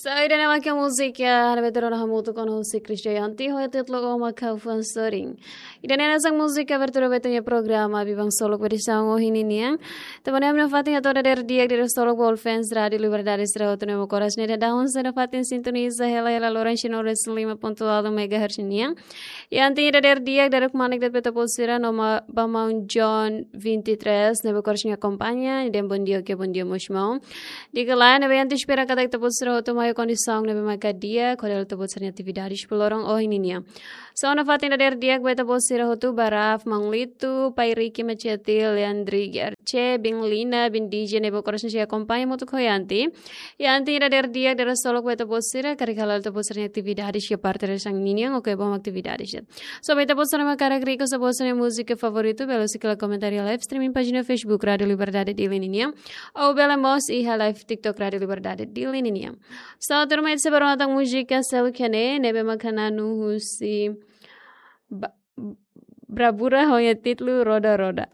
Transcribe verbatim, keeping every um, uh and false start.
So, ida-ne'e mak múzika, eh, hanesan ita rona hamutuk ho José Cristo Yanti, ho títulu Ó Mak Ha'u Fuan Sorin. Ida-ne'e hanesan múzika abertura ba ita-nia programa Biban Solok ba edisaun ohin ninian. Tanba ne'e ami nafatin hato'o dadeer di'ak dadeer solok ba all fans Rádio Liberdade sira hotu ne'ebé koras ne'e daudaun sei nafatin sintoniza hela hela loron sino res lima pontu nol megahertz nian. Iha anti dadeer di'ak dadeer kmanek de'it ba ita-boot sira no ma-, ba maun John vinte e três, ne'ebé koras nia akompaña, dehan bom dia, oke, bom dia mós maun. Di'ak ka lae, ne'ebé anti espera katak ita-boot sira hotu mai kondisaun ne'ebé maka di'ak, hodi halo ita-boot sira-nia atividades ba loron ohin ninian. So, nafatin dadeer di'ak ba ita-boot sira hotu, ba Raf, maun Lito, Pai Ricky Machete, Leandri G R C, Bin Lina, Bin D J ne'ebé koras sei akompaña hamutuk ho anti. Iha anti dadeer di'ak dadeer solok ba ita-boot sira, karik hala'o ita-boot sira-nia atividades iha parte resan ninian, oke, bom atividades. So, ba ita-boot sira mak hakarak request ita-boot sira-nia múzika favoritu, bele husu hela komentáriu live streaming pájina Facebook Rádio Liberdade Dili ninian, ou bele mós iha live TikTok Rádio Liberdade Dili ninian. So, tuirmai ita sei bá rona tan múzika seluk iha ne'e, ne'ebé maka na'in-neen husi Ba-, Bravura ho nia títulu Roda Roda.